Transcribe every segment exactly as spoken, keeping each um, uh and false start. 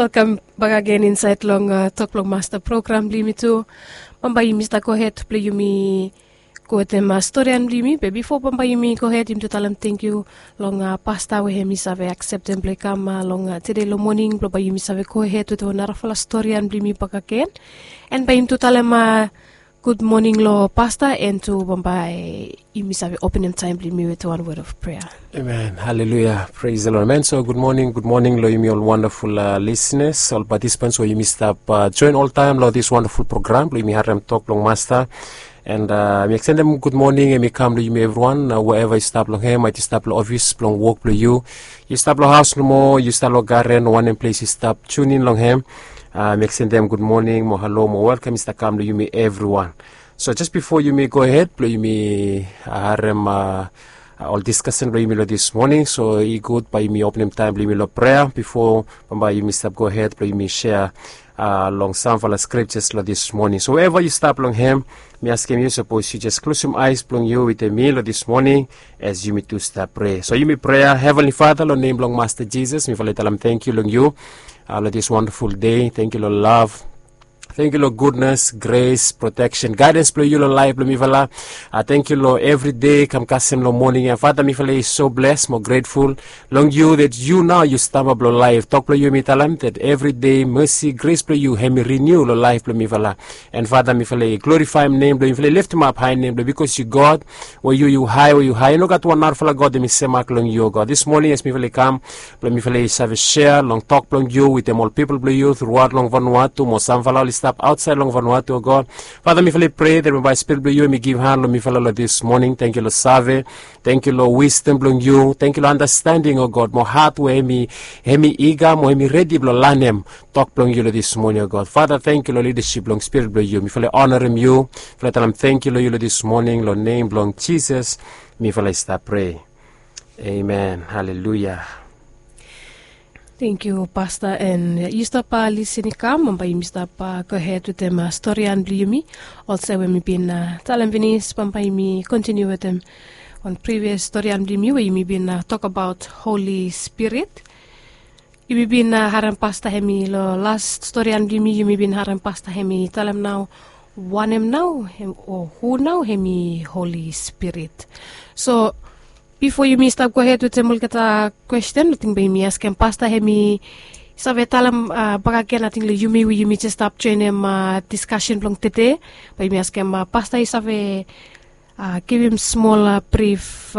Welkam bak agen insaed long tok blong masta program blong yumi tu. Bambae yumi stap gohed blong yumi go wetem storian blong yumi, be bifo bambae yumi gohed yumi tu talem tangkiu long pasta we hem i save akseptem blong i kam long tede long moning blong bae yumi save gohed wetem wan narafala storian blong yumi bak agen. An bae yumi tu talem gud moning long pasta, an tu bambae yumi save openem taem blong yumi wetem wan wod of prea. Amen. Haleluya. Pres the Lord, amen. So gud moning, gud moning long yumi ol wandaful lisnas, ol patisipans we yumi stap joen oltaem long dis wandaful program blong yumi harem tok blong masta. An mi ekstendem gud moning hem i kam long yumi evriwan, wherever yu stap long hem, aet yu stap long ofis blong wok blong yu, yu stap long haos nomo, yu stap long garen, wanem ples yu stap, tiun in long hem. Mi ekstendem gud moning mo halo mo welkam i stap kam long yumi evriwan. So jes bifo yumi gohed blong yumi harem ol diskasen blong yumi long dis moning, so i gud bae yumi openem taem blong yumi long prea bifo bambae yumi stap gohed blong yumi sea long samfala skriptas long dis moning. So wherever yu stap long hem, mi askem yu sapos yu jes klosem aes blong yu wetem mi long dis moning, as yumi tu stap prea. So yumi prea. Heavenly Father, long nem blong Masta Jisas, mifala i talem tangkiu long yu long dis wandaful dei. Tangkiu long lav, tangkiu long gudnas, gres, proteksen, gaedans blong yu long laef blong mifala. Tangkiu long evri dei kam kasem long moning ya. Fata, mifala i so bles mo gretful long yu that yu nao yu stamba blong laef. Tok blong yu hem i talem that evri dei mesi, gres blong yu hem i riniu long laef blong mifala. An Fata, mifala i glorifaem nem blong yu, mifala i leftemap hae nem blong yu, bikos yu God we yu yu hae, we yu hae, i no gat wan narafala God hem i semak long yu, o God. Dis moning as mifala i kam blong mifala i save sea long tok blong yu wetem ol pipol blong yu truaot long Vanuatu mo samfala oli stap aotsaed long Vanuatu, o God. Fata, mifala i prea that bambae Spirit blong yu hem i givhan long mifala long dis moning. Tangkiu long save, tangkiu long wisdom blong yu, tangkiu long andastending, o God, mo hat we hem i, hem i iga mo hem i redi blong lanem tok blong yu long dis moning, o God. Fata, tangkiu long lidasip blong Spirit blong yu. Mifala i onarem yu, mifala i talem tangkiu long yu long dis moning, long nem blong Jisas mifala i stap prea. Amen. Haleluya. Tangkiu pasta, an yu stap lisin i kam, bambae yumi stap gohed wetem storian blong yumi. Olsem we mi bin talem finis, bambae yumi kontiniu wetem wan privias storian blong yumi we yumi bin tokbaot Holi Spirit. Yumi bin harem pasta hem i long las storian blong yumi, yumi bin harem pasta hem i talem nao wanem nao hem, o hu nao hem i Holi Spirit. So bifo yumi stap gohed wetem olgeta kwesten, ating bae yumi askem pasta hem i save talem bak agen, ating long yumi we yumi jes stap joenem diskasen blong tede, bae yumi askem pasta i save givim smol brif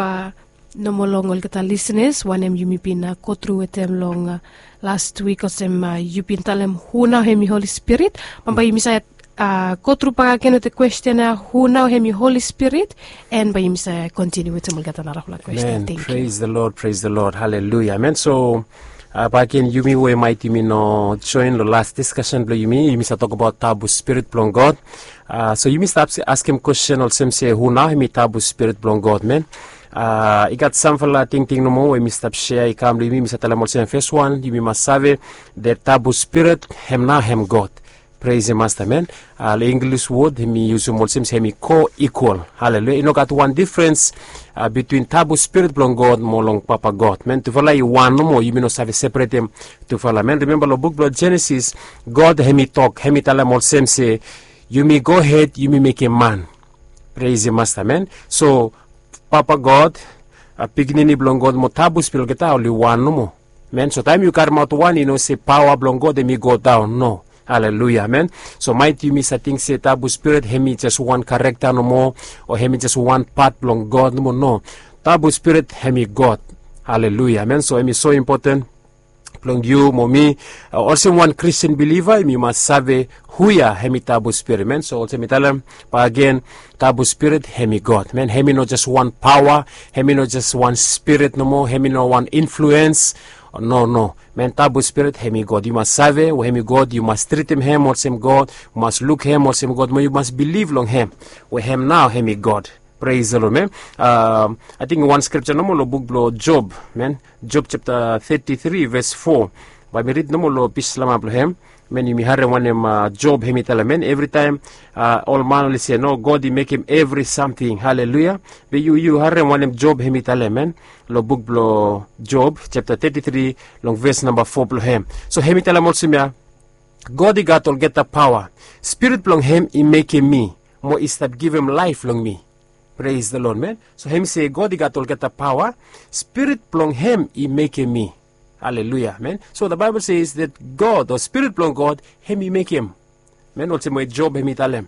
nomo long olgeta lisnas wanem yumi bin gotru wetem long las wik, olsem yu bin talem hu nao hem i Holi Spirit. Bambae yumi save gotru bak agen wetem kwesten ya, hu nao hem i Holi Spirit, an bae yumi save kontiniu wetem olgeta narafala kwesten. Tangkiu. Pres the Lord, pres the Lord. Haleluya. Amen. So bak agen, yumi we maet yumi no joen long las diskasen blong yumi, yumi save tokbaot Tabu Spirit blong God. So yumi stap askem kwesten olsem se, hu nao hem i Tabu Spirit blong God, amen. I gat samfala tingting nomo we mi stap sea i kam long yumi, mi save talem olsem, fes wan, yumi mas save that Tabu Spirit hem nao hem God. Pres the Masta, amen. Long Inglis wod hem i yusum olsem se hem i ko-ikwal. Haleluya. I no gat wan difrens bitwin Tabu Spirit blong God mo long Papa God, amen. Tufala i wan nomo, yumi no save separetem tufala, amen. Rimemba long buk blong Jenesis, God hem i tok, hem i talem olsem se, yumi gohed yumi mekem man. Pres the Masta, amen. So Papa God, Pikinini blong God mo Tabu Spirit, olgeta oli wan nomo, amen. So taem yu karemaot wan, i no se paoa blong God hem i godaon, no. Haleluya, amen. So maet yumi save ting se Tabu Spirit hem i jes wan karekta nomo, o hem i jes wan pat blong God nomo, no. Tabu Spirit hem i God. Haleluya, amen. So hem i so impoten blong yu mo mi, olsem wan Kristin biliva, yumi mas save hu ya hem i Tabu Spirit, amen. So olsem mi talem bak agen, Tabu Spirit hem i God, amen. Hem i no jes wan paoa, hem i no jes wan spirit nomo, hem i no wan influens. No, no, amen. Tabu Spirit hem i God. Yu mas save we hem i God, yu mas tritim hem olsem God, yu mas luk hem olsem God, mo yu mas bilif long hem we hem nao hem i God. Pres the Lord, amen. Ating wan skripja nomo long buk blong Job, amen. Job japta teti tri ves fo. Bae mi rid nomo long pis lama blong hem. Men yumi harem wanem Job hem i talem, men evritaem ol man oli se no, God i mekem evri samting. Haleluia. Be yu yu harem wanem Job hem i talem, men long buk blong Job japta teti tri, long ves namba fo blong hem. So hem i talem olsem ya, God i gat olgeta paoa. Spirit blong hem i mekem mi, mo i stap givim laef long mi. Pres the Lord, men. So hem i se God i gat olgeta paoa. Spirit blong hem i mekem mi. Haleluia, men. So the Bible says that God o Spirit blong God hem i mekem, men, olsem we Job hem i talem.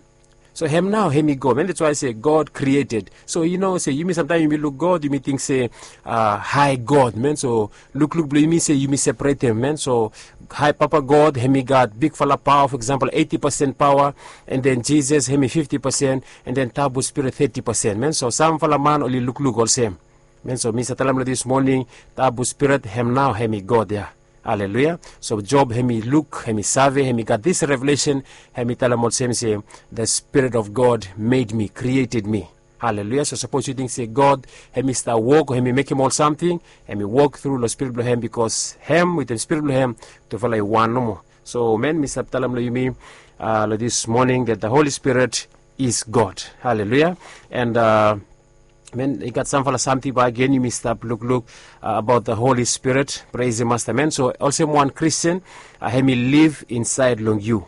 So hem nao hem i God, men. That's why I say God created. So yu no se yumi samtaem yumi luk God yumi ting se hae God, men. So lukluk blong yumi se yumi separetem, men. So hae Papa God hem i gat bigfala paoa, for example, eiti pasen paoa, and then Jisas hem i fifti pasen, and then Tabu Spirit teti pasen, men. So samfala man oli lukluk olsem, men. So mi save talem long this morning, Tabu Spirit hem nao hem i God ya. Haleluia. So Job hem i luk, hem i save, hem i gat this revelation, hem i talem olsem se, the Spirit of God made me, created me. Haleluia. So sapos yu ting se God hem i stap wok o hem i mekem ol samting, hem i wok tru long Spirit blong hem, bikos hem wetem Spirit blong hem tufala i wan nomo. So men, mi stap talem long yumi long this morning that the Holy Spirit is God. Haleluia. And men, i gat samfala samting bae gen yumi stap lukluk about the Holy Spirit. Pres the Masta, men. So olsem wan Kristin, hem i liv insaed long yu.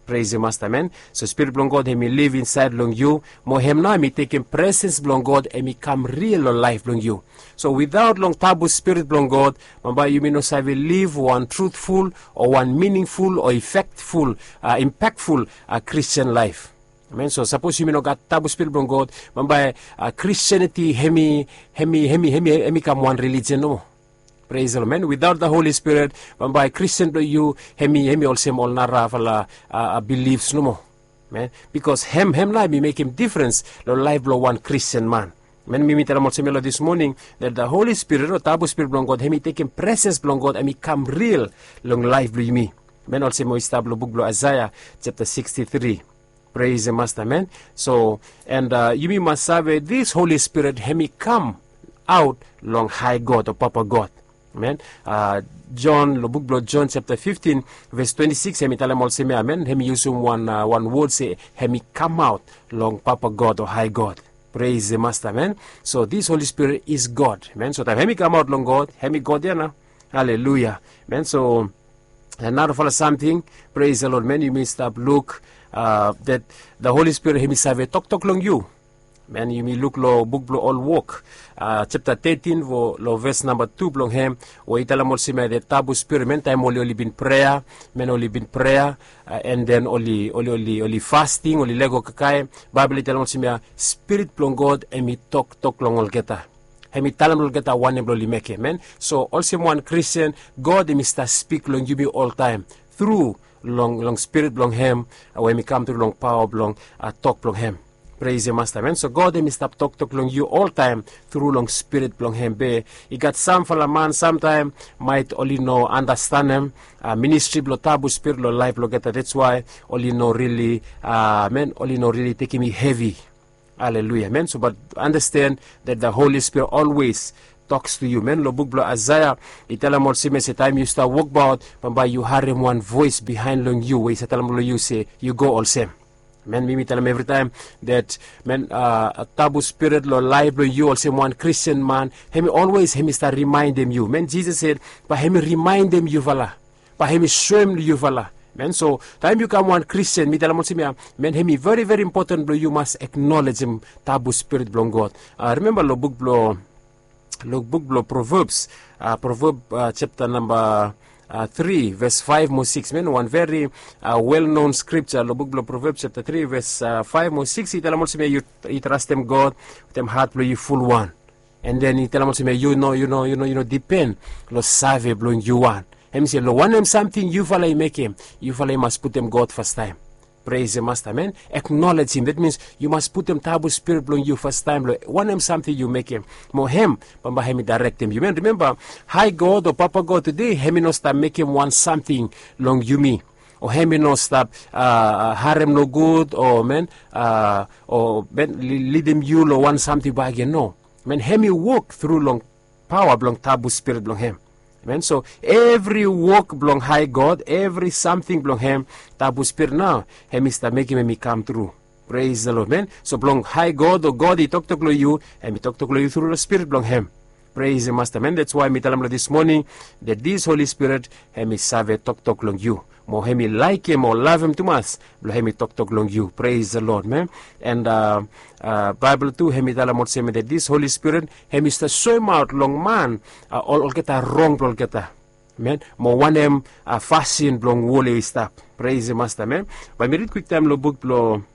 Pres the Masta, men. So Spirit blong God hem i liv insaed long yu, mo hem nao hem i tekem presens blong God hem i kam ril long laef blong yu. So without long Tabu Spirit blong God, bambae yumi no save liv wan truthful o wan meaningful o effectful, impactful Christian life. Men, so sapos yumi no gat Tabu Spirit blong God, bambae Christianity hem i, hem i, hem i, hem i, hem i kam wan religion nomo. Pres the Lord, men. Without the Holy Spirit, bambae Christian blong yu hem i, hem i olsem ol narafala beliefs nomo, men. Bikos hem, hem nao hem i mekem difrens long laef blong wan Christian man. Men, mi mi talem olsem ya long this morning, that the Holy Spirit o Tabu Spirit blong God hem i tekem presens blong God hem i kam ril long laef blong yumi. Men, olsem we i stap long buk blong Aesea japta siksti tri. Pres the Masta, men. So and yumi mas save this Holy Spirit hem i kamaot long hae God o Papa God. Men, Jon, long buk blong Jon japta fiftin ves twenti sikis, hem i talem olsem ya, men, hem i yusum wan, wan wod se hem i kamaot long Papa God o hae God. Pres the Masta, men. So this Holy Spirit is God, men. So taem hem i kamaot long God, hem i God ya nao. Haleluia, men. So narafala samting, pres the Lord, men, yumi stap luk that the Holy Spirit hem i save toktok long yu. Men, yumi luk long buk blong Ol Wok japta tetin, long ves namba tu blong hem, we i talem olsem ya, the Tabu Spirit, men, taem oli, oli bin prea, men, oli bin prea, and then oli, oli, oli, oli fasting, oli lego kakae. Baebol i talem olsem ya, Spirit blong God hem i toktok long olgeta. Hem i talem long olgeta wanem blong oli mekem, men. So olsem wan Christian, God hem i stap spik long yumi oltaem tru long, long Spirit blong hem, we hem i kam tru long paoa blong tok blong hem. Pres the Masta, men. So God hem i stap toktok long yu oltaem tru long Spirit blong hem. Be i gat samfala man samtaem maet oli no andastanem ministri blong Tabu Spirit long laef blong olgeta. That's why oli no rili, men, oli no rili tekem i hevi. Haleluia, men. So but understand that the Holy Spirit always talks to you, men. Long buk blong Aesea i talem olsem ya se taem yu stap wokbaot, bambae yu harem wan voes bihaen long yu we i save talem long yu se yu go olsem. Men, mi mi talem evritaem that, men, Tabu Spirit long laef blong yu olsem wan Christian man, hem i always, hem i stap rimaendem yu, men. Jisas sed bae hem i rimaendem yufala, bae hem i soem long yufala, men. So taem yu kam wan Christian, mi talem olsem ya, men, hem i veri, veri impoten blong yu mas acknowledgem Tabu Spirit blong God. Rimemba long buk blong, long buk blong Proverbs, Proverb japta namba tri ves faef mo sikis, men, wan veri well known scripture long buk blong Proverbs japta tri ves faef mo sikis, i talem olsem ya, yu trastem God wetem hat blong yu fulwan. And then i talem olsem ya, yu no, yu no, yu no, yu no dipen long save blong yu wan. Hem i se long wanem samting yufala i mekem, yufala i mas putum God fastaem. Pres the Masta, men. Acknowledge him, that means yu mas putum Tabu Spirit blong yu fastaem long wanem samting yu mekem. Mo hem bambae hem i daerektem yu, men. Rimemba, hae God o Papa God tede hem i no stap mekem wan samting long yumi, o hem i no stap harem nogud, o, men, o, men, lidim yu long wan samting bakegen, no. Men, hem i wok tru long paoa blong Tabu Spirit blong hem. Men, so evri wok blong hae god, evri samting blong hem, tabu spirit nao hem i stap mekem hem i kam tru. Pres the lod, men. So blong hae god o god i toktok long yu, hem i toktok long yu tru long spirit blong hem. Pres the masta, men. Dats wae mi talem long dis moning, dat dis holi spirit hem i save toktok long yu, mo hem i laekem o lavem tumas blong hem i toktok long yu. Pres the lod, men. And baebol tu hem i talem olsem dat dis holi spirit hem i stap soemaot long man olgeta rong blong olgeta, men, mo wanem fasin blong wol ya i stap. Pres the masta, men. Bae mi rid kwiktaem long buk blong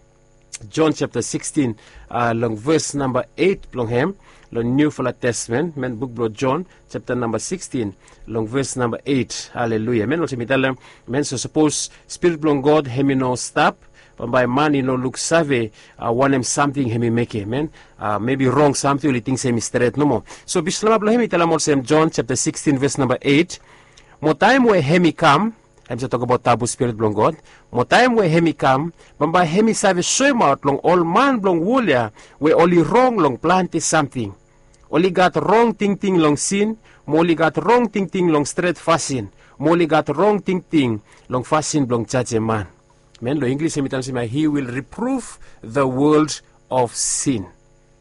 jon japta sikstin, long ves namba eit blong hem, long niufala testamen, men, buk blong jon japta namba sikstin, long ves namba eit. Haleluia, men. Olsem mi talem, men, so sapos spirit blong god hem i no stap, bambae man i no luksave wanem samting hem i mekem, men. Mebi rong samting oli ting se hem i stret nomo. So bislama blong hem i talem olsem, jon japta sikstin ves namba eit, mo taem we hem i kam, hem save tokbaot tabu spirit blong god, mo taem we hem i kam, bambae hem i save soemaot long ol man blong wol ya we oli rong long plante samting. Oli gat rong tingting long sin, mo oli gat rong tingting long stret fasin, mo oli gat rong tingting long fasin blong jajem man. Men, long inglis hem i talem olsem ya, he will reprove the world of sin.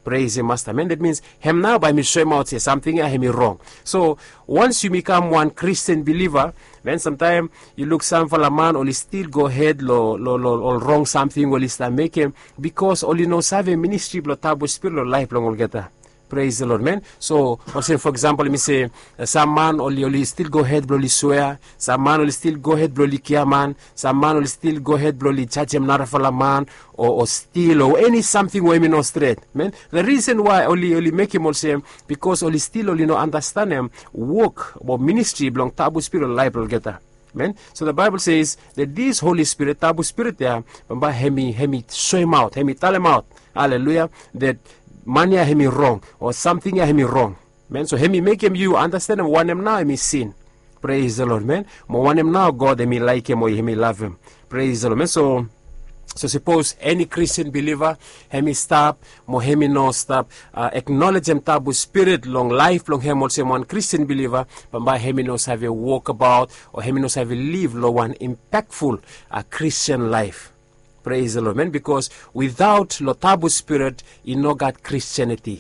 Pres the masta, men. Dat mins hem nao bae hem i soemaot se samting ya hem i rong. So wans yumi kam wan kristin biliva, men, samtaem yu luk samfala man oli stil gohed long ol rong samting we oli stap mekem, bikos oli no save ministri blong tabu spirit long laef blong olgeta. Pres the lod, men. So olsem fo eksampol mi se, sam man oli oli stil gohed blong oli swea, sam man oli stil gohed blong oli giaman, sam man oli stil gohed blong oli jajem narafala man, o stil o eni samting we hem i no stret, men. The risen wae oli mekem olsem, bikos oli stil oli no anastenem wok o ministri blong tabu spirit long laef blong olgeta, men. So the baebol ses dat dis holi spirit, tabu spirit ya, bambae hem i soemaot, hem i talemaot, haleluia, dat man ya hem i rong o samting ya hem i rong, men. So hem i mekem yu anastenem wanem nao hem i sin. Pres the lod, men. Mo wanem nao god hem i laekem o hem i lavem. Pres the lod, men. So sapos eni kristin biliva hem i stap, mo hem i no stap eknolejem tabu spirit long laef blong hem olsem wan kristin biliva, bambae hem i no save wokbaot o hem i no save liv long wan impakful kristin laef. Pres the lod, men. Bikos widaot long tabu spirit i no gat kristianiti.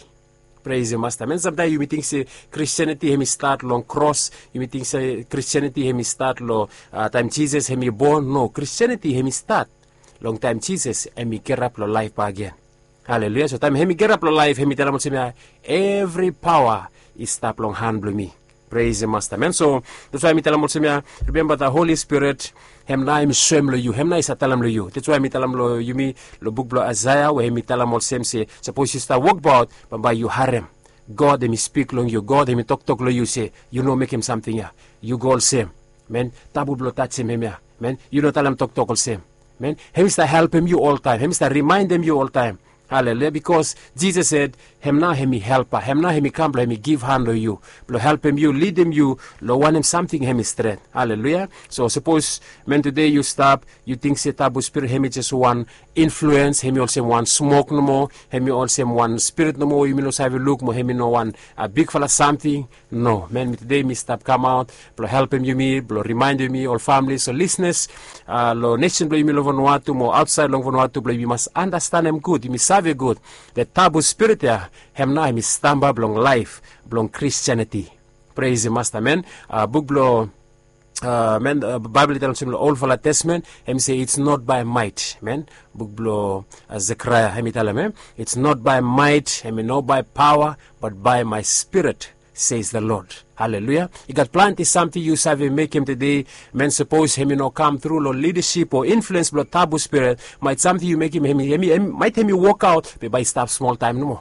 Pres the masta, men. Samtaem yumi ting se kristianiti hem i stat long kros, yumi ting se kristianiti hem i stat long taem jisas hem i bon. No, kristianiti hem i stat long taem jisas hem i girap long laef bakegen. Haleluia. So taem hem i girap long laef hem i talem olsem ya, evri paoa i stap long han blong mi. Pres the masta, men. So dats wae mi talem olsem ya, rimemba the holi spirit, hem nao hem i soem long yu, hem nao i save talem long yu. Dats wae mi talem long yumi long buk blong aesaea we hem i talem olsem se sapos yu stap wokbaot, bambae yu harem god hem i spik long yu, god hem i toktok long yu se yu no mekem samting ya, yu go olsem, men. Tabu blong tajem hem ya, men. Yu no talem toktok olsem, men. Hem i stap helpem yu oltaem, hem i stap rimaendem yu oltaem. Haleluia, bikos jisas sed hem nao hem i helpa, hem nao hem i kam blong hem i givhan long yu, blong helpem yu, lidim yu long wanem samting hem i stret. Haleluia. So sapos, men, tude yu stap yu ting se tabu spirit hem i jes wan influens, hem i olsem wan smok nomo, hem i olsem wan spirit nomo we yumi no save luk, mo hem i no wan bigfala samting. No, men, mi tude mi stap kamaot blong helpem yumi, blong rimaendem yumi ol famili o lisnas long nesen blong yumi long vanuatu mo aotsaed long vanuatu blong yumi mas anastenem gud, yumi save gud, dat tabu spirit ya hem nao hem i stamba blong laef blong kristianiti. Pres the masta, men. Buk blong, men, baebol i talem olsem long olfala testamen, hem i se it's not by might, men. Buk blong zekaraea hem i talem, it's not by might, hem i no by paoa, but by my spirit, says the lord. Haleluia. I gat plante samting yu save mekem tude, men, sapos hem i no kam tru long lidasip o influens blong tabu spirit, maet samting yu mekem hem i maet hem i wokaot be bae i stap smoltaem nomo.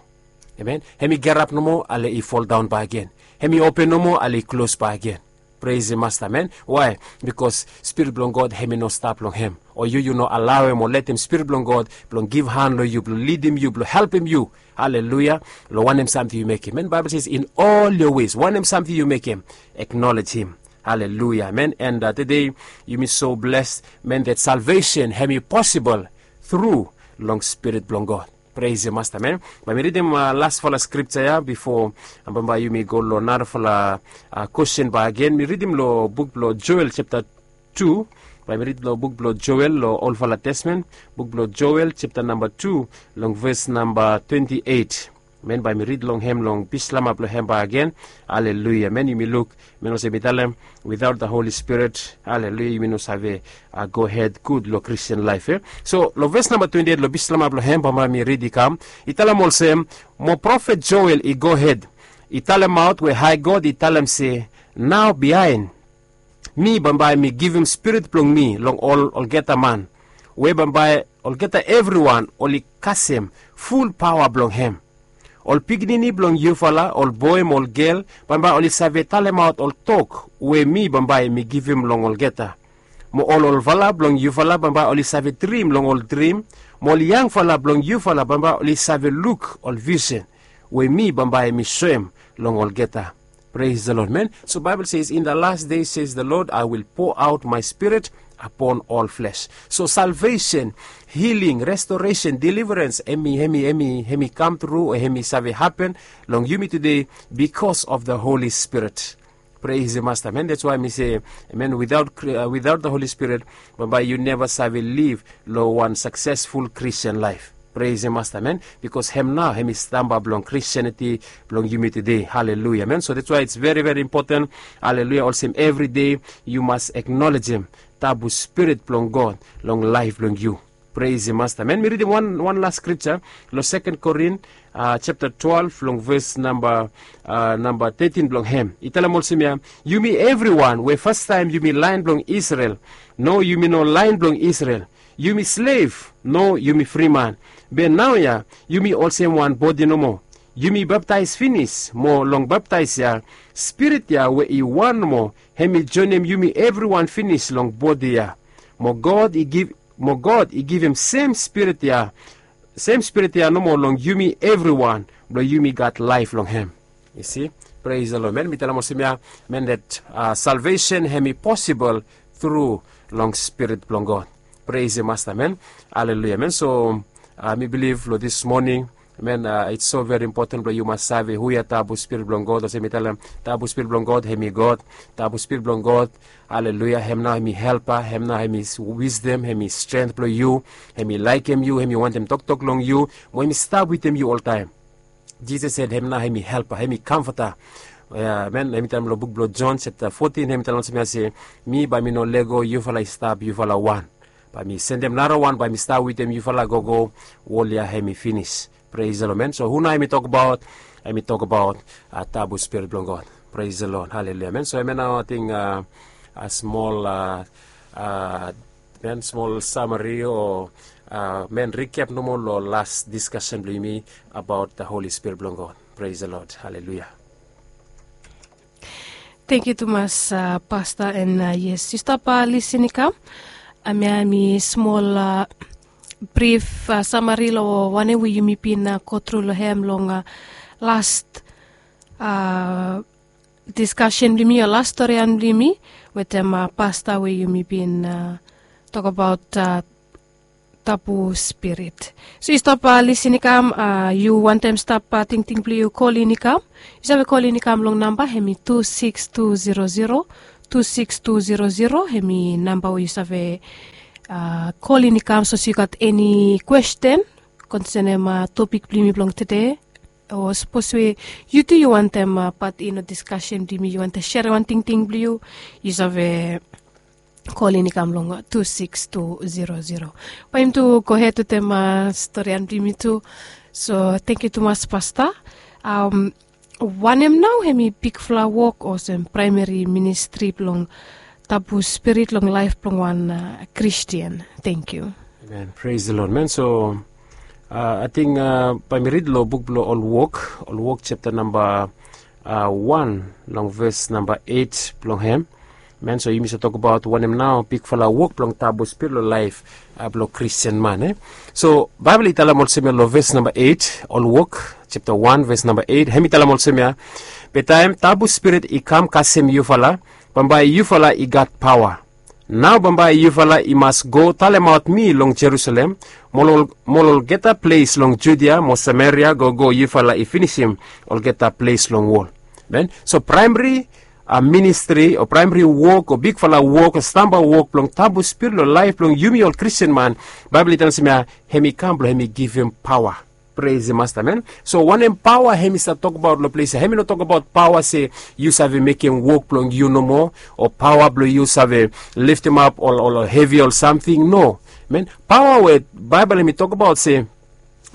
Amen. Hem i girap nomo ale i foldaon bakegen. Hem i open nomo ale i klos bakegen. Pres the masta, men. Wae? Bikos spirit blong god hem i no stap long hem, o yu yu no alaoem o letem spirit blong god blong givhan long yu, blong lidim yu, blong helpem yu, haleluia, long wanem samting yu mekem, men. Baebol ses in ol yo wes, wanem samting yu mekem, eknolej him. Haleluia, men. And tude yumi so bles, men, dat salvesen hem i posibol tru long spirit blong god. Pres ya masta men. Bae mi ridim lasfala skripta ya bifo bambae yumi go long narafala kwestin bae agen mi ridim long buk blong Joel septa tu. Bae mi rid long buk blong Joel long olfala testamen, buk blong Joel septa namba tu, long ves namba twenti eit. Men bae mi rid long hem long bislamap long hem bae agen. Aleluia men, yumi luk men olsem mi talem, witaot da holi spirit, aleluia, yumi no save gohed gud long kristian laef ya. So long ves namba twenti eit long bislamap long hem bambae mi rid i kam, i talem olsem, mo profet Joel i gohed i talemaot we hae god i talem se, nao biaen mi bambae mi givim spirit blong mi long ol olgeta man, we bambae olgeta evriwan oli kasem ful paoa blong hem. Ol pikinini blong yufala, ol boe mo ol gel, bambae oli save talemaot ol tok we mi bambae mi givim long olgeta. Mo ol olfala blong yufala bambae oli save drim long ol drim, mo ol yangfala blong yufala bambae oli save luk ol visen we mi bambae mi soem long olgeta. Pres da lod men. So baebol ses, in da las dei ses da lod, I will po aot mae spirit apon ol fles. So salvesen, hiling, restoresen, deliverens, hem i hem i hem i hem i kam tru o hem i save hapen long yumi tude, bikos of da holi spirit. Pres da masta men, dats wae mi se, men witaot da holi spirit, bambae yu neva save liv long wan saksesful kristian laef. Pres da masta men, bikos hem nao hem i stamba blong kristianiti blong yumi tude. Haleluia men. So dats wae its veri veri impoten, haleluia, olsem evri dei yu mas aknolejem tabu spirit blong god long laef blong yu. Pres da masta men, mi ridim wan las skripta long seken korin septa twelef long ves namba namba tetin blong hem i talem olsem ya, yumi evriwan we fastaem yumi laen blong isrel, no yumi no laen blong isrel, yumi slev, no yumi friman, be naoia yumi olsem wan bodi nomo. Yumi baptaes finis mo long baptaes ya, spirit ya we i wan nomo hem i joenem yumi evriwan finis long bodi ya. Mo god i giv mo god i givim sem spirit ya, sem spirit ya nomo long yumi evriwan blong yumi gat laef long hem. Isi. Pres da lod men, mi talem olsem ya, men dat salvesen hem i posibol tru long spirit blong god. Pres da masta men. Haleluia men. So mi biliv long dis moning, men, its so veri impoten blong yu mas save hu ya tabu spirit blong god olsem mi talem, tabu spirit blong god hem i god. Tabu spirit blong god, haleluia, hem nao hem i helpa, hem nao hem i wisdom, hem i strength blong yu, hem i laekem yu, hem i wantem toktok long yu, mo hem i stap witem yu oltaem. Jisas sed hem nao hem i helpa, hem i kamfata. Men hem i talem long buk blong Jon septa fotin hem i talem olsem ya se, mi bae mi no lego yufala i stap yufala wan, bae mi sendem narawan bae mi stap witem yufala gogo wol ya hem i finis. Pres da lod men. So hu nao hem i tokbaot? Hem i tokbaot tabu spirit blong god. Pres da lod. Haleluia men. So hem ya nao ating a smol men smol samari o men rikep nomo long las diskasen blong yumi abaot da holi spirit blong god. Pres da lod. Haleluia. Tengkiu tumas pasta, en yes yu stap lisin i kam. Amia mi smol brif samari long wanem we yumi bin go tru long hem long las diskasen blong yumi o las storian blong yumi wetem pasta we yumi bin tokabaot tabu spirit. So yu stap lisin i kam, yu wantem stap tingting blong yu kolin i kam, yu save kolin i kam long namba hem i tu siks tu zero zero, tu siks tu zero zero hem i namba we yu save kolin i kam sapos yu gat eni kwesten konsenem topik blong yumi blong tude, o sapos we yu tu yu wantem pat in o diskasen blong yumi, yu wantem serem wan tingting blong yu, yu save kolin i kam long tu siks tu zero zero. Bae yumi tu gohed wetem storian blong yumi tu. So tengkiu tumas pasta. Wanem nao hem i bigfala wok olsem praemeri ministri blong tabu spirit long laef blong wan kristian? Tengkiu. Amen. Pres da lod men. So ating bae mi rid long buk blong ol wok, ol wok septa namba wan long ves namba eit blong hem. Men, so yumi save tokabaot wanem nao bigfala wok blong tabu spirit long laef blong kristian man e. So baebol i talem olsem ya long ves namba eit, ol wok septa wan ves namba eit, hem i talem olsem ya, be taem tabu spirit i kam kasem yufala, bambae yufala i gat paoa. Nao bambae yufala i mas go talemaot mi long Jerusalem, mo long olgeta ples long Judia mo Sameria gogo yufala i finisim olgeta ples long wol. Amen. So praemri ministri o praemri wok o bigfala wok o stamba wok blong tabu spirit long laef blong yumi ol Kristin man, Baebol i talem olsem ya, hem i kam blong hem i givim paoa. Pres Masta, amen. So wanem paoa hem i save tokbaot long ples ya? Hem i no tokbaot paoa se yu save mekem wok blong yu nomo, o paoa blong yu save liftimap ol hevi ol samting. No, amen. Paoa we Baebol hem i tokbaot se,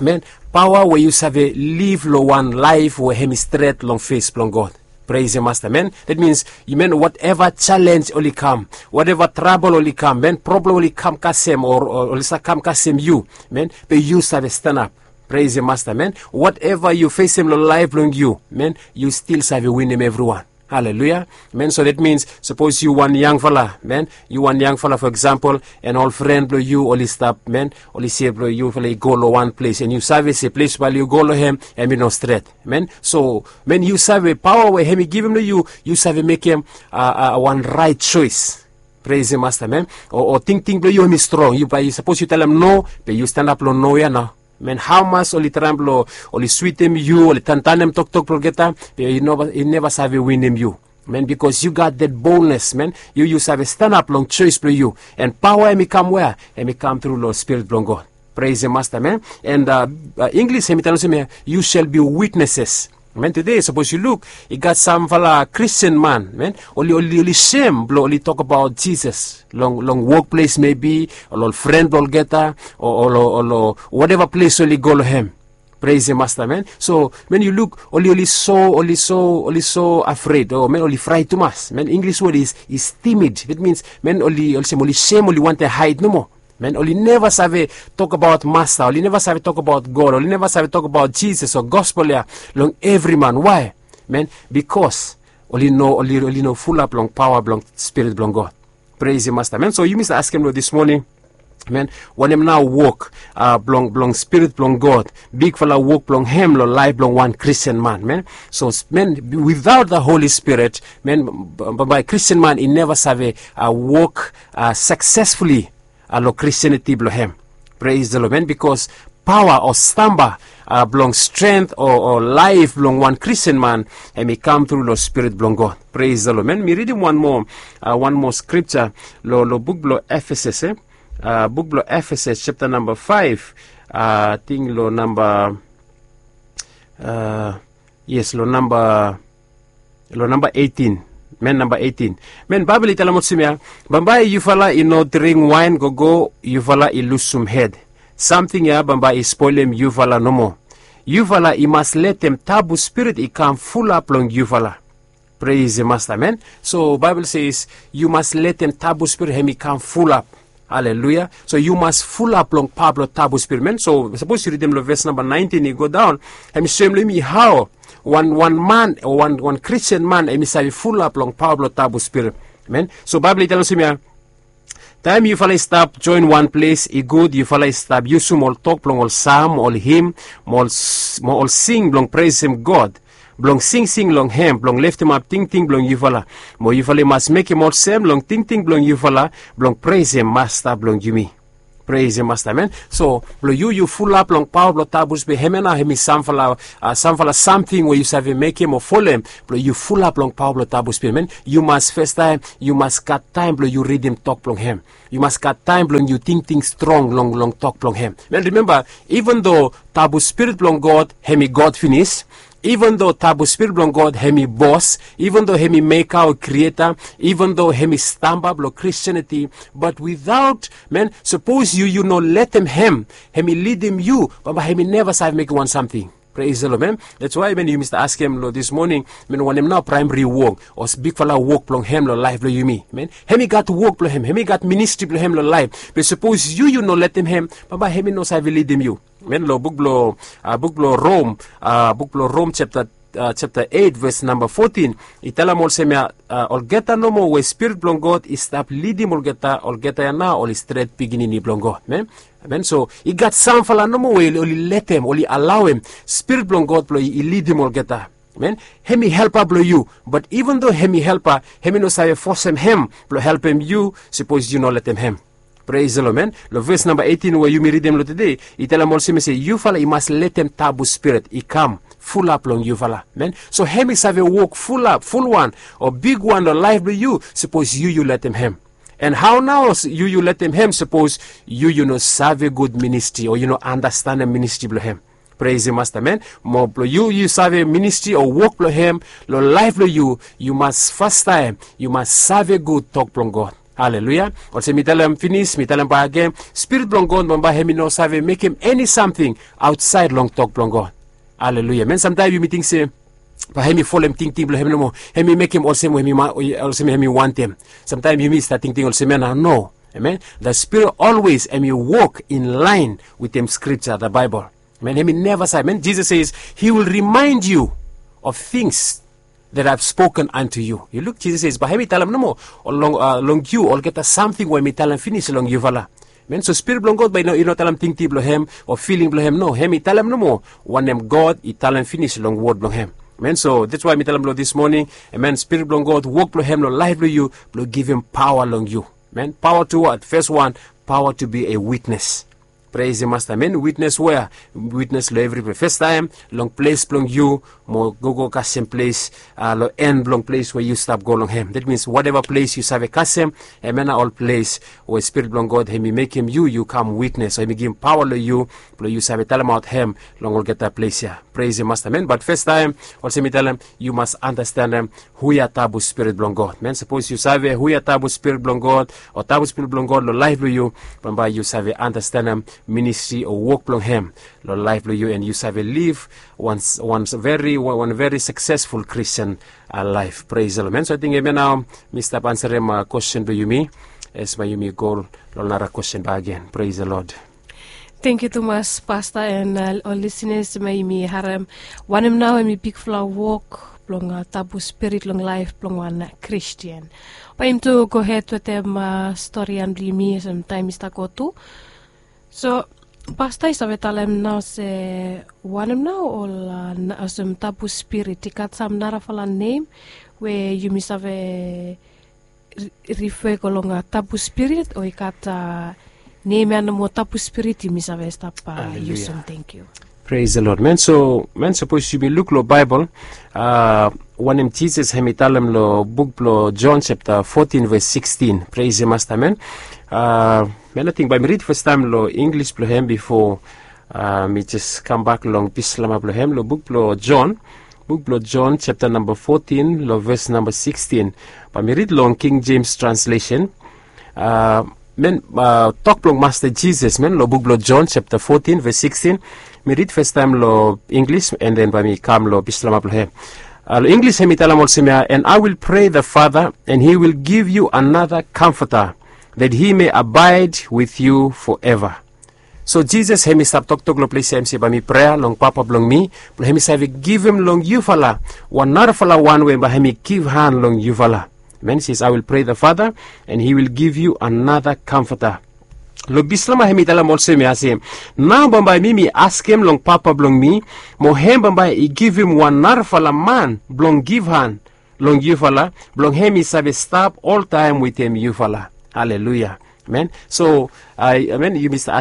amen, paoa we yu save liv long wan laef we hem i stret long fes blong God. Pres Masta, amen. Dat mins, amen, wateva jalenj oli kam, wateva trabol oli kam, amen, problem oli kam kasem o oli save kam kasem yu, amen, be yu save stanap. Pres Masta, amen. Wateva yu fesem long laef blong yu, amen, yu stil save winim evriwan. Haleluya. Amen. So dat mins sapos yu wan yangfala, amen, yu wan yangfala fo eksampol, en ol fren blong yu oli stap, amen, oli se blong yufala i go long wan ples, en yu save se ples bae yu go long hem hem i no stret. Amen. So amen, yu save paoa we hem i givim long yu, yu save mekem wan raet soes. Pres Masta, amen. O tingting blong yu hem i strong, yu bae sapos yu talem no, be yu stanap long no ya nao. Amen. Hamas oli traem blong oli switim yu, oli tantanem toktok blong olgeta, be i neva save winim yu. Amen. Bikos yu gat dat bolnes, amen. Yu yu save stanap long soes blong yu. En paoa hem i kam wea? Hem i kam tru long Spirit blong God. Pres Masta, amen. En Inglis hem i talem olsem ya, yu sel bi witneses. Amen. Tude sapos yu luk, i gat samfala Kristin man, amen, oli oli sem blong oli tokbaot Jisas long wokples mebi, o long ol fren blong olgeta, o long wateva ples oli go long hem. Pres Masta, amen. So amen, yu luk, oli oli so oli so oli so afred, o amen, oli fraet tumas, amen. Inglis wod is timid. Dat mins amen, oli olsem oli sem, oli wantem haed nomo. Amen. Oli neva save tokbaot Masta, oli neva save tokbaot God, oli neva save tokbaot Jisas o gospel ya long evri man. Wae? Amen. Bikos oli no oli no fulap long paoa blong Spirit blong God. Pres Masta, amen. So yumi save askem long dis moning, amen, wanem nao wok blong Spirit blong God, bigfala wok blong hem long laef blong wan Kristin man, amen. So amen, without the Holy Spirit, amen, bambae Kristin man i neva save wok saksesfuli long Kristianiti blong hem. Pres the Lord, amen. Bikos paoa o stamba blong strength o laef blong wan Kristin man, hem i kam tru long Spirit blong God. Pres the Lord, amen. Mi ridim wan moa wan moa skripja long buk blong Efesas, e, buk blong Efesas japta namba faef, ating long namba, yes, long namba long namba eitin. Amen. Namba eitin, amen, Baebol i talem olsem ya, bambae yufala i no dring waen gogo yufala i lusum hed. Samting ya bambae i spolem yufala nomo. Yufala i mas letem tabu Spirit i kam fulap long yufala. Pres Masta, amen. So Baebol i se yu mas letem tabu Spirit hem i kam fulap. Haleluya. So yu mas fulap long paoa blong tabu Spirit, amen. So sapos yu ridim long ves namba naentin i go daon, hem i soem long yumi hao wan man o wan Kristian man hem i save fulap long paoa blong tabu Spirit, amen. So Baebol i talem olsem ya, taem yufala i stap joen wan ples, i gud yufala i stap yusum ol tok blong ol sam, ol him, mo ol sing blong presem God, blong singsing long hem blong leftemap tingting blong yufala. Mo yufala i mas mekem olsem long tingting blong yufala, blong presem Masta blong yumi. Presem Masta, amen. So blong yu yu fulap long paoa blong tabu Spirit, hem ya nao hem i samfala samting we yu save mekem o folem blong yu fulap long paoa blong tabu Spirit, amen. Yu mas festaem yu mas gat taem blong yu ridim tok blong hem. Yu mas gat taem blong yu tingting strong long long tok blong hem. Amen. Rimemba, iven do tabu Spirit blong God hem i God finis, iven do tabu Spirit blong God hem i bos, iven do hem i meka o krieta, iven do hem i stamba blong Kristianiti, bat witaot, amen, sapos yu yu no letem hem hem i lidim yu, bambae hem i neva save mekem wan samting. Pres the Lord, amen. Dats wae, amen, yumi stap askem long dis moning, amen, wanem nao praemri wok o bigfala wok blong hem long laef blong yumi, amen. Hem i gat wok blong hem, hem i gat ministri blong hem long laef. Be sapos yu yu no letem hem, bambae hem i no save lidim yu. Amen. Long buk blong, buk blong Rom, buk blong Rom japta eit ves namba fotin, i talem olsem ya, olgeta nomo we Spirit blong God i stap lidim olgeta, olgeta ya nao oli stret pikinini blong God. Amen. Amen. So i gat samfala nomo we oli letem, oli alaoem Spirit blong God blong i lidim olgeta. Men, hem i helpa blong yu. Bat even do hem i helpa, hem i no save fosem hem blong helpem yu sapos yu no letem hem. Pres lo men, long ves namba eighteen we yumi ridim long tede, i talem olsem ya se yufala i mas letem tabu spirit i kam fulap long yufala. Men, so hem i save wok fulap, fulwan o bigwan long laef blong yu sapos yu yu letem hem. And hao nao yu yu letem hem sapos yu yu no save gud ministri o yu no anastanem ministri blong hem? Pres masta men, mo blong yu yu save ministri o wok blong hem long laef blong yu, yu mas fastaem yu mas save gud tok blong God. Aleluya. Olsem mi talem finis, mi talem bak agen, spirit blong God bambae hem i no save mekem eni samting aotsaed long tok blong God. Aleluya. Men, samtaem yumi ting se bae hem i folem tingting blong hem nomo, hem i mekem olsem we hem i wantem. Samtaem yumi stap tingting olsem ya nao, no. Amen. The spirit always hem i wok in laen wetem skripta, the Bible. Men, hem i neva save. Men, Jesus says he will remind you of things that I've spoken unto you. Yu luk, Jesus says bae hem i talem nomo long yu olgeta samting we hem i talem finis long yufala. Men, so spirit blong God bae i no talem tingting blong hem o filing blong hem, no, hem i talem nomo wanem God i talem finis long wod blong hem. Men, so that's why mi talem long this morning, amen, spirit blong God wok blong hem long laef blong yu blong givim paoa long yu. Men, paoa tu wad? Fes wan, paoa tu bi a witnes. Pres masta men, witnes wea? Witnes long evri ples. Festaem long ples blong yu mo gogo kasem ples long en blong ples we yu stap go long hem. That means wateva ples yu save kasem, hem ya nao ol ples we spirit blong God hem i mekem yu yu kam witnes o hem i givim paoa long yu blong yu save talemaot hem long olgeta ples ya. Pres masta men, bat festaem olsem mi talem, yu mas anastanem hu ya tabu spirit blong God. Men, sapos yu save hu ya tabu spirit blong God o tabu spirit blong God long laef blong yu, bambae yu save anastanem ministri o wok blong hem long laef blong yu, and yu save liv wan veri wan veri saksesful Kristian laef. Pres lo men, so ating hem ya nao mi stap ansarem kwesten blong yumi. As bae yumi go long nara kwesten bak agen. Pres lo Lod. Tangkiu tumas pasta and ol lisinas, bae yumi harem wanem nao hem i bigfala wok blong tabu spirit long laef blong wan Kristian. Bae yumi tu gohed wetem storian blong yumi olsem taem i stap go tu. So pasta i save talem nao se wanem nao ol olsem tabu spirit i gat sam narafala nem we yumi save rife go long tabu spirit o i gat nem ya nomo tabu spirit yumi save stap yusum? Tangkiu. Pres lo Lod men. So men, sapos yumi luk long Baebol, wanem Jisas hem i talem long buk blong Jon sapta fotin ves sikstin. Pres masta men. Men, ating bae mi rid fastaem long Inglis blong hem bifo mi jes kambak long Bislama blong hem long buk blong Jon. Buk blong Jon sapta namba fotin long ves namba sikstin. Bae mi rid long King Jems translesen. Men, tok blong Masta Jisas men long buk blong Jon sapta fotin ves sikstin. Mi rid fastaem long Inglis and then bae mi kam long Bislama blong hem. Long Inglis hem i talem olsem ya, and I will pray the Father and he will give you another comforter that he may abide with you forever. So Jisas hem i stap toktok long ples ya hem i se bae mi prea long Papa blong mi blong hem i save givim long yufala wan narafala wan we bae hem i givhan long yufala. Men, says, I will pray the Father and he will give you another comforter. Long Bislama hem i talem olsem ya se, nao bambae mi mi askem long Papa blong mi, mo hem bambae i givim wan narafala man blong givhan long yufala blong hem i save stap oltaem wetem yufala. Aleluya. Men, so amen, yumi stap